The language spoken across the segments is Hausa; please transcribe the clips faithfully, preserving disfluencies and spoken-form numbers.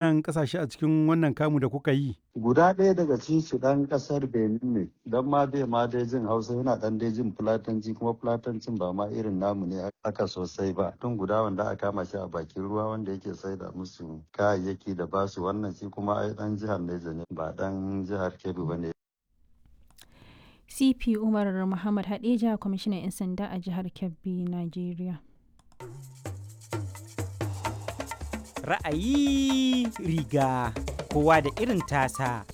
Waɗannan ƙasashe a cikin wannan kamu da kuka yi? Guda ɗaya daga cikin su ɗan ƙasar Benin ne, don ma bai ma dai jin Hausa yana ɗan dai jin Fulatanci kuma Fulatancin ba ma irin namu ne aka sosai ba. Tun guda wanda aka kama shi a bakin ruwa wanda yake saida musu kayayyaki da basu wannan shi kuma ai ɗan jihar Neja ne ba ɗan jihar Kebbi ba ne. C P Umar Muhammad Hadeja, kwamishinan 'yan sanda a jihar Kebbi, Najeriya. Ra'ayi riga kowa da irin tasa.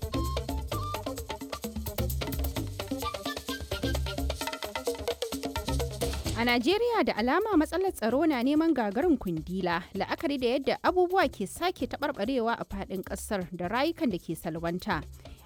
A Najeriya da alama matsalar tsaro na neman gagarin kundila, la'akari da yadda abubuwa ke sake taɓarɓarewa a faɗin ƙasar da rayukan da ke salwanta.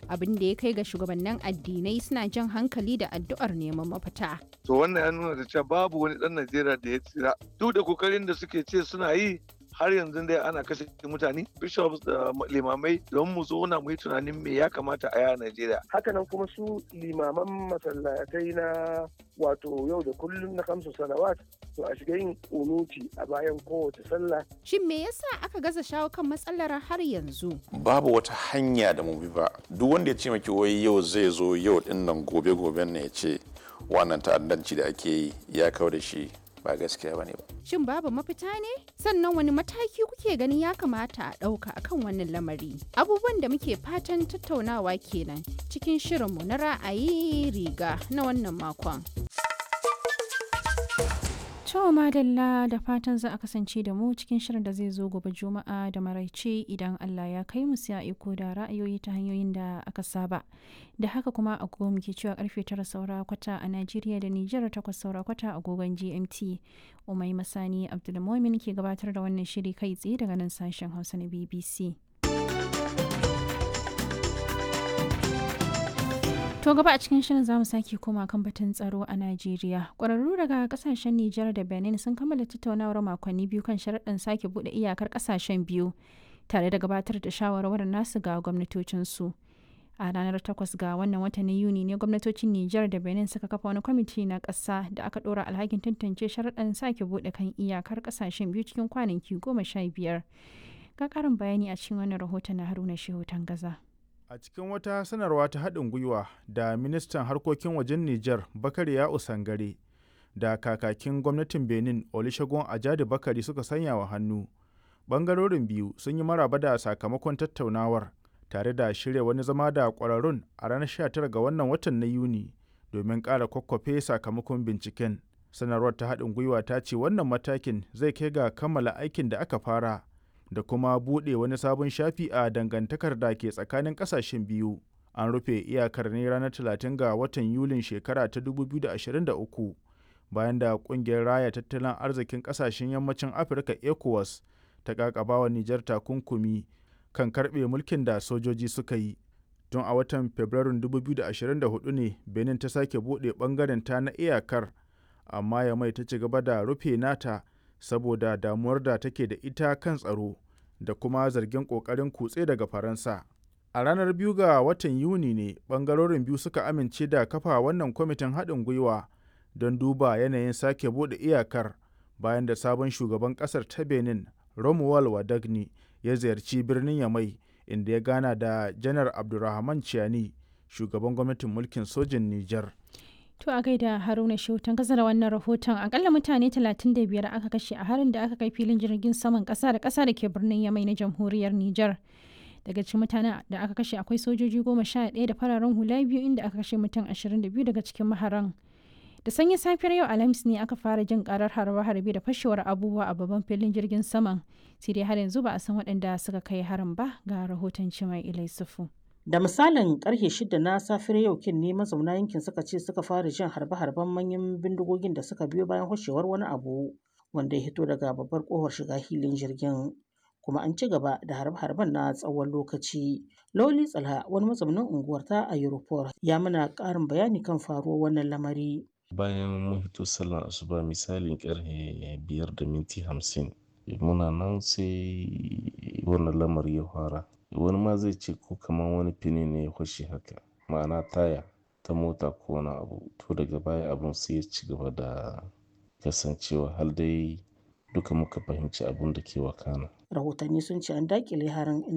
Abin da ya kai ga shugabannin addinai suna jan hankali da addu'ar neman mafita. To wannan ya nuna da cewa babu wani ɗan Najeriya da ya tsira. Duk da kokarin da suke ce suna yi, har yanzu dai ana kashe mutane, bishops da limamai, don mu zauna mu yi tunanin me ya kamata a yi a Najeriya. Hakanan kuma su limaman masallatai na wato yau da kullum na kamsu salawat, to a shiga yin kunuti a bayan kowace sallah. Shin me yasa aka gaza shawo kan matsalar har yanzu? Babu wata hanya da mu bi ba. Duk wanda ya ce maki wai yau zai zo yau din nan, gobe goben ne ya ce wannan ta'addanci da ake yi ya kawo da shi, ba gaskiya bane ba. Shin babu mafita ne? Sannan wani mataki kuke ganin ya kamata a ɗauka akan wannan lamari? Abubuwan da muke fatan tattaunawa kenan cikin shirinmu na ra'ayi riga na wannan makon. To madalla, da fatan za a kasance da mu cikin shirin da zai zo gobe Juma'a da maraice idan Allah ya kai mu. Sai a iko da ra'ayoyi ta hanyoyin da aka saba. Da haka kuma agogo muke cewa karfe tara saura kwata a Najeriya da Nijar, takwas saura kwata agogon G M T. Umai Masani Abdulmumin ke gabatar da wannan shiri kai tsaye daga nan sashen Hausa na B B C. To gaba a cikin shirin zamu sake koma kan batun tsaro a Najeriya. Ƙwararru daga kasashen Nijar da Benin sun kammala tattaunawar makonni biyu kan sharaɗin sake buɗe iyakar kasashen biyu tare da gabatar da shawarwarin nasu ga gwamnatocinsu. A ranar takwas ga wannan watan na Yuni ne gwamnatocin Nijar da Benin suka kafa wani kwamiti na ƙasa da aka ɗora alhakin tantance sharaɗin sake buɗe kan iyakar kasashen biyu cikin kwanaki goma sha biyar. Ga ƙarin bayani a cikin wannan rahoton na Haruna Shehu Tangaza. A cikin wata sanarwa ta haɗin gwiwa da ministan harkokin wajen Nijar Bakari Ya'u Sangare da kakakin gwamnatin Benin Olusegun Ajadi Bakari suka sanya wa hannu, ɓangarorin biyu sun yi maraba da sakamakon tattaunawar tare da shirya wani zama da ƙwararrun a ranar sha tara ga wannan watan na Yuni domin ƙara kwakwafe sakamakon binciken. Sanarwar ta haɗin gwiwa ta ce wannan matakin zai kai ga kammala aikin da aka fara da kuma buɗe wani sabon shafi a dangantakar da ke tsakanin ƙasashen biyu. An rufe iyakar ne ranar talatin ga watan Yulin shekara ta dubu biyu da ashirin da uku bayan da ƙungiyar Raya Tattalin Arzikin Ƙasashen Yammacin Afirka ECOWAS ta ƙaƙabawa Nijar takunkumi kan karɓe mulkin da sojoji suka yi. Tun a watan Fabrairun dubu biyu da ashirin da huɗu ne Benin ta sake buɗe ɓangaren ta na iyakar, amma Yamai ta ci gaba da rufe nata saboda damuwar da take da ita kan tsaro da kuma zargin ƙoƙarin kutse daga Faransa. A ranar biyu ga watan Yuni ne ɓangarorin biyu suka amince da kafa wannan kwamitin haɗin gwiwa don duba yanayin sake buɗe iyakar bayan da sabon shugaban ƙasar ta Benin Romuald Wadagni ya ziyarci birnin Yamai, inda ya gana da Janar Abdurrahman Chiani, shugaban gwamnatin mulkin sojin Nijar. To a gaida Haruna Shehu kasa da wannan rahoton. Akalla mutane talatin da biyar aka kashe a harin da aka kai filin jirgin saman kasa da kasa da ke birnin Yamai na jamhuriyar Nijar. Daga cikin mutanen da aka kashe akwai sojoji goma sha ɗaya da fararen hula biyu, inda aka kashe mutum ashirin da biyu daga cikin maharan. Da sanyin safiyar yau Alhamis ne aka fara jin karar harbe-harbe da fashewar abubuwa a babban filin jirgin saman. Sai dai har yanzu ba a san waɗanda suka kai harin ba. Ga rahoton Cimai Ilai Sufu. Da misalin karfe shida na safiyar yau kin ne mazauna yankin suka ce suka fara jin harbe-harben manyan bindigogin da suka biyo bayan hoshewar wani abu wanda ya hito daga babbar kofar shiga hilin jirgin. Kuma an ci gaba da harbe-harben na tsawon lokaci. Loli Tsalha, wani mazaunin unguwar ta a Europol, ya mana ƙarin bayani kan faruwar wannan lamari. Bayan mun fito sallar asuba, misalin karfe biyar da minti hamsin, muna nan sai wannan lamari ya fara. Wani ma zai ce ko kamar wani fini ne ya fashe haka, ma'ana taya ta mota ko wani abu. To daga baya abun sai ya ci gaba da kasancewa har dai duka muka fahimci abun da ke wakana. Rahotanni sun ce an dakile harin.